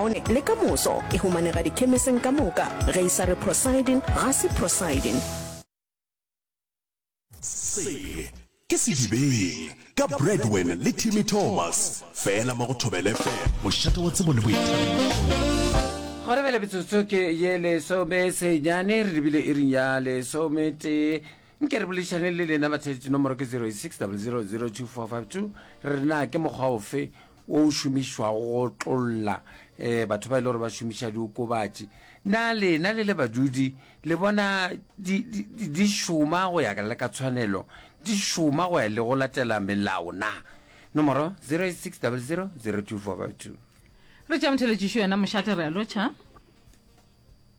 kaone le ka moso. E humanega dikhemiseng ka moka. Ge e sa re Procyden, ga se Procyden. Se ke Sedibeng ka Bradwin le Timmy Thomas, fela mo go Thobela FM, mošate wa tsebo le boithabišo. Gona bjale metsotso ke ye lesomesenyane, re lebile iring ya lesometee. Nke re boledišane le lena batheetši, nomoro ke 08600022452. Re re na ke mokgwa ofe wo o šomišwago go otlolla um batho ba e le gore ba šomiša diokobatši? Na lena le le badudi le bona di, di, di, di šoma go ya le ka tshwanelo, di šoma go ya le go latela melao na? Nomoro 08600022452. Re tšea motheletšišo yena mošate re a lotšha.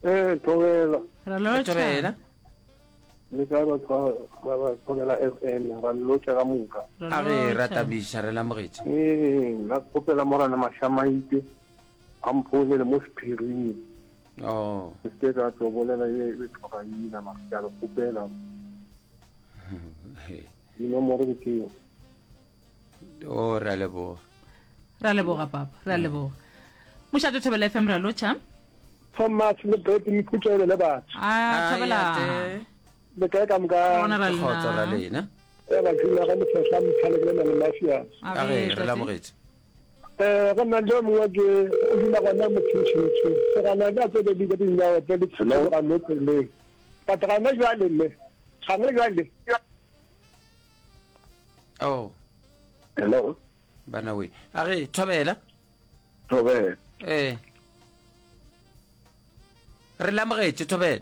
Ee, thobela. Re a lotšha. Thobela. Le kae batho ba ba thobela FM ra le lotša ka moka. A re ra tabiša re lamogetše. Ee, nna kgopela morana Mashamaite a mphounele mo sephiring. Oh. Ke se ka tlo bolela ye e tloga ina mara ke a le kgopela. Dinomoro ke tšeo. O re a leboga. Re a leboga papa, re a leboga. Mošate Thobela FM re a lotšha. Thomas le Brett Mkhutšele le batho. A Thobela. Le kae ka moka? Re gona ra lena. Kgotso ra lena. E ba dula ga lefehla mthale ke le na le mafia. A re re lamogetše. Eh go nna le mongwe ke o dula gona mo Tshintshintshi. Se gana ka tse di di dinyawo tse di tshologa mo tseleng. But gana jwale le. Gana jwale. Oh. Hello. Bana we. A re thobela. Thobela. Eh. Re lamogetše thobela.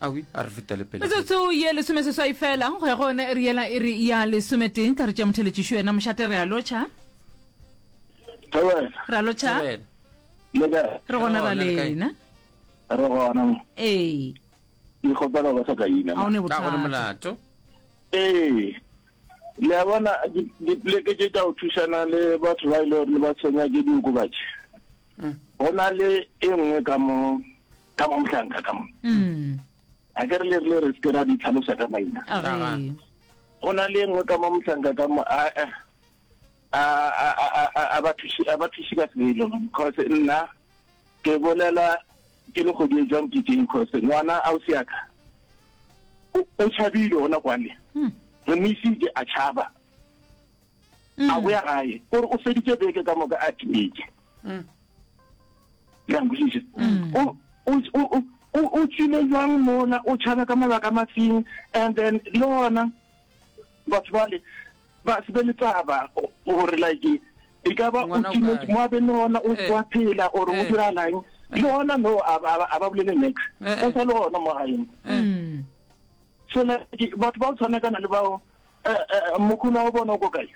Awi, a re fetele pele. Metsotso ye lesomeseswai fela go ya go yona iri yela iri ya lesometee. Tla re tšea motheletšišo yena mošate re a lotšha. Thobela. Re a lotšha. Thobela. Le kae? Re gona ra lena. Re gona. Ee. Ke kgopela go sa ka ina. A o ne Ka go bothata. molato. Ee. Le a bona dipoleke tše tša go thušana le batho ba e le gore ba tshwenya ke diokobatši. Go na le e nngwe ka mo ka mo mohlanka ka mo. Mm. A ke re le rile re se ke ra di tlhalosa ka maina. A re. Go na le e nngwe ka mo mohlanka ka mo a a a a a ba thuši a ba thuši ka selo because nna Ke bolela ke le kgwedi e jwang ke teng cause ngwana ausi ya ka o tšhabile gona kwale hmm. re mo isitše a tšhaba hmm. a boya gae gore o feditše beke ka moka a timetse hmm. le a nkwešiša o tswile jwang mola o tšhaba ka mabaka mafeng and then le gona batho bale ba se be le taba gore like e ka ba o timetse mo a be le gona o wa phela or o diragalang le gona no a ba bolele nex o sa le gona mo gaeng so like batho ba o tshwanakana le bao mokhuna wa bona o ko kae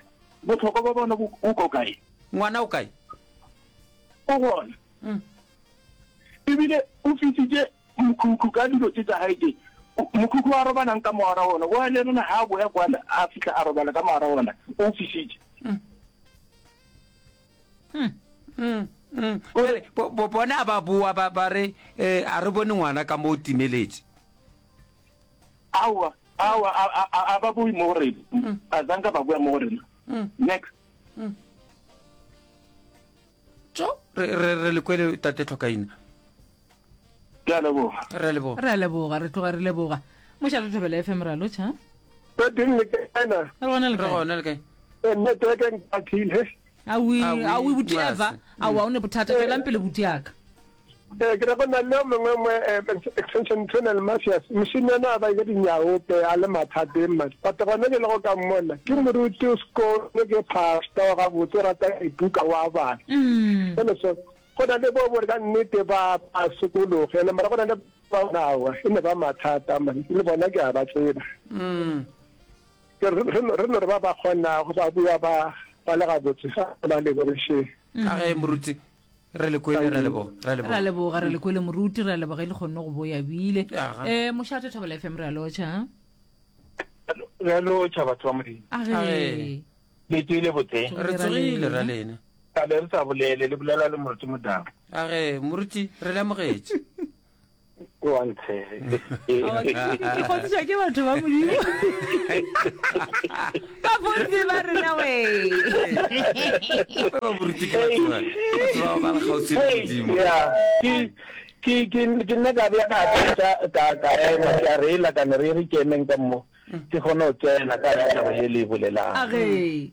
botlhokwa ba bona o ko kae ngwana o kae o gona ebile o fisitse Mokhukhu ka dilo tše tša gae tše. Mokhukhu a robalang ka mogara wona, wa le rena ha a boya kwana a fihla a robala ka mogara wona, o fisitše. Bjale, bo, bona ba boa ba, ba re, eh, a re bone ngwana ka mo o timeletše. Aowa, aowa, a, a, a, a ba boi mo go rena. A zanka ba boya mo go rena. Next. Tšo, re, re, re le kwele tate Tlhokaina. Ke a leboga. Re a leboga. Re a leboga, re tloga re leboga. Mošate Thobela FM re a lotšha. Re teng le kae na? Re gona le Re kae? gona le kae? Eh, network e nkathile. Awi, Awi, awi buti Mase. Eva. Awa o ne bothata tšwelang pele buti yaka. Eh, ke re go na le yo mongwe mo eh, extension tunnel mafias mošemane a ba ile dinyaope a le mathateng man but gona ke le go ka mmona ke moruti o sekolo ke pastor wa gabotse o rata dibuka wa bala Mm. jale so Go na le bo bo re ka nnete ba ba sokologe ene mara go na le ba aowa e ne ba mathata man le bona ke a ba tseba. Ke re re no re no re ba ba kgonago ba bua ba ba le gabotse ga ba lebogišeng. Ka ge moruti re le kwele re leboga re Re a leboga. leboga, re le kwele moruti, re a leboga e le kgonne go boya bile. Aga. Eh mošate Thobela FM re a lotšha. Re a lotšha batho ba Modimo. A ge. Age. Le tsogile botse? Re tsogile ra lena. Kale re sa bolele, le bolela le Moruti Modau. A ge, Moruti, re le amogetše. Ke wa ntshege. Ke kgotsišwa ke batho ba Modimo. Ba bontsi ba rena we. Ba ba boruti ke batho ba. Batho ba ba le kgauswi le Modimo. Yeah. Ke ke ke ke nna ka bea ka ka ka ka ema ke a reela ka ne re re ke emeng ka mo. Ke kgone go tsena ka ya taba ye le e bolelang. Age.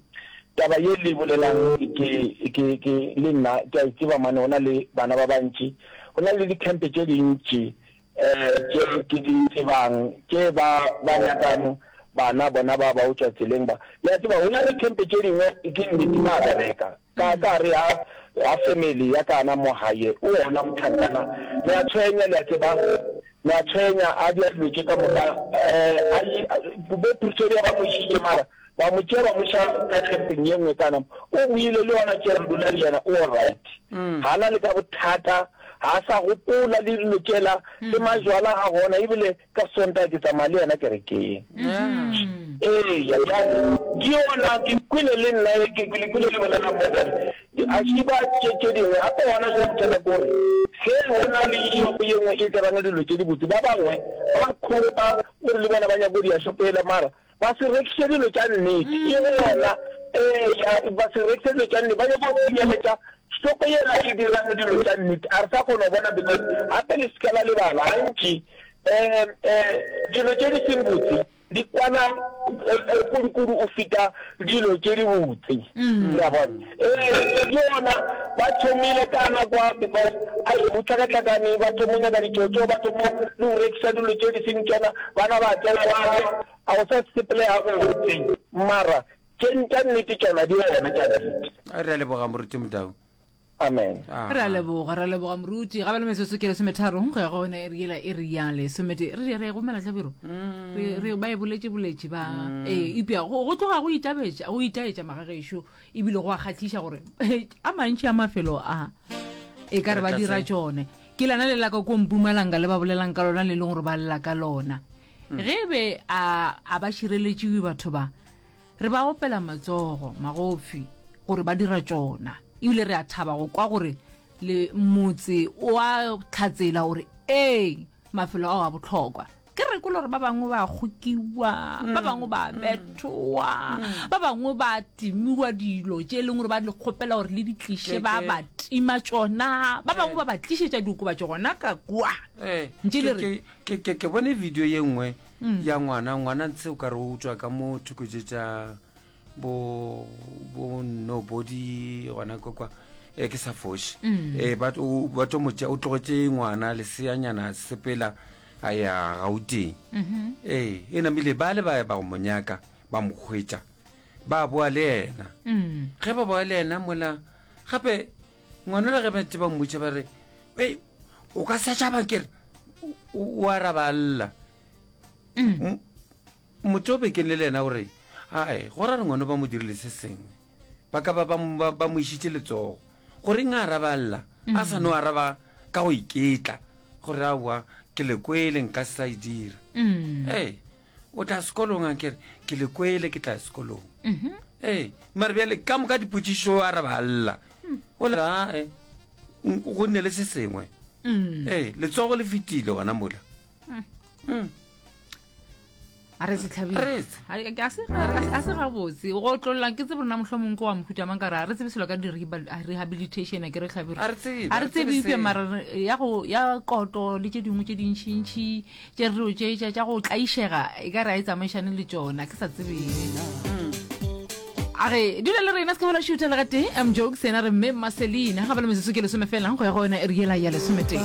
Taba ye le e bolelang ke ke ke le nna ke a e tseba mane go na le bana ba bantši, go na le dikhempe tše dintši um tše ke di tsebang tše ba ba nyakang bana bona ba ba go tšwa tseleng ba. Le a tseba go na le khempe tše dingwe ke nnete ba bereka. Ka ka re ha ha family ya kana mo haye o ona motlhankana le a tshwenya le a tseba le a tshwenya a dia dilo tše ka moka eh a bo Pretoria ba mo išitše mara ba mo tšea ba mo iša ka campeng ye nngwe kana o boile le yona tše re dula le yena o right ga na le ka bothata ga sa gopola le dilo tšela le majwala ga gona ebile Ka Sontaga ke tsamaya le yena kerekeng. Eya, bjale, ke yona, ke kwele le nna, ke, ke le kwele le bolela mo gore a šiba tše, tše dingwe. Gape gona jwale bothata ke gore ge go na le shopo ye nngwe e dirang dilo tše dibotse, ba bangwe ba khopa gore le bona ba nyaka go dia shopo yela, mara ba se rekiše dilo tša nnete. E gona, eya, ba se rekiše dilo tša nnete, ba nyaka go senyeletša shopo yela e dirang dilo tša nnete. A re sa kgona go bona because gape le se ke la lebala gantši um um dilo tše di seng botse di kwana kudu-kudu o feta dilo tše di botse. Le a bona? Ee, ke yona ba thomile ka nako because ai go hlakahlakane, ba thoma go nyaka ditšotšo, ba thoma le go rekiša dilo tše di seng tšona, bana ba tsena ba ja, a go sa sepelega gabotse. Mara tše tša nnete tšona di gona tša nnete. Re a leboga Moruti Modau. Amen. Re a leboga, re a leboga moruti. Ga ba le metsotso ke lesometharo go ya go yona e re yela e re ya lesomete. Re re gomela hlabiro. Re re ba e boletše boletše ba ee eupša go go tloga go itabetša go itaetša magagešo ebile go a kgahliša gore a mantši a mafelo a e ka re ba dira tšone. Ke lana le la ka ko Mpumalanga le ba bolelang ka lona le leng gore ba lla ka lona. Ge e be a a ba šireletšiwe batho ba Re ba opela matsogo magofi gore ba dira tšona, ebile re a thaba go kwa gore le motse o a tlhatsela gore ee, mafelo ao a bohlokwa. Ke re kwele gore ba bangwe ba kgokiwa, ba bangwe ba bethowa, ba bangwe ba timiwa dilo tše e leng gore ba le kgopela gore le di tliše, ba ba tima tšona, ba bangwe ba ba tlišetša diokobatši gona ka kua. Ntše le re. Ke bone video ye nngwe mm. ya ngwana ngwana ntse o ka re o tswa ka mo thoko tše tša bo bo nobody gona kwa kwa e ke sa foše mm. e ba ba to motša o tlogetše ngwana leseanyana sepela a ya Gauteng mm-hmm. ee e namile ba le ba ba go monyaka ba mo hwetša ba boa le yena mm. ge ba boa le yena mola gape ngwana le ge ba ntse ba mmotša ba re ei o ka sa tšaba kere o araba lla mm. motho o bekeng le le yena o re ae go ra re ngwana ba mo dirile se sengwe ba ka ba ba mo išitše letsogo goreng a araba lla a sa no araba ka go iketla gore aowa ke le kwele nka se sa e dira mm. ee o tla sekolong a kere ke le kwele ke tla sekolong mm-hmm. ee mare bjale ka moka dipotšišo a re ba lla mm. o le ae go nne le se sengwe mm. ee letsogo le fetile gona mola mm. mm. a re setlhabile a se gabotse go otlolola ke tsebe rona mohlomong ke wa mohuta mang ka re a re tsebe selo ka di-rehabilitation a ke re tlhabire a re tsebe eupša mara ya koto le tše dingwe tše dintšhintšhi tše dilo tše tša tša go tlaišega e ka re a e tsamaišane le tšona ke sa tsebeng a re dula le rena se ka bola šutha le gatee m jokes yena re mme maselina ga ba le metsotso ke lesome fela go ya go yona e re yela ya lesometee.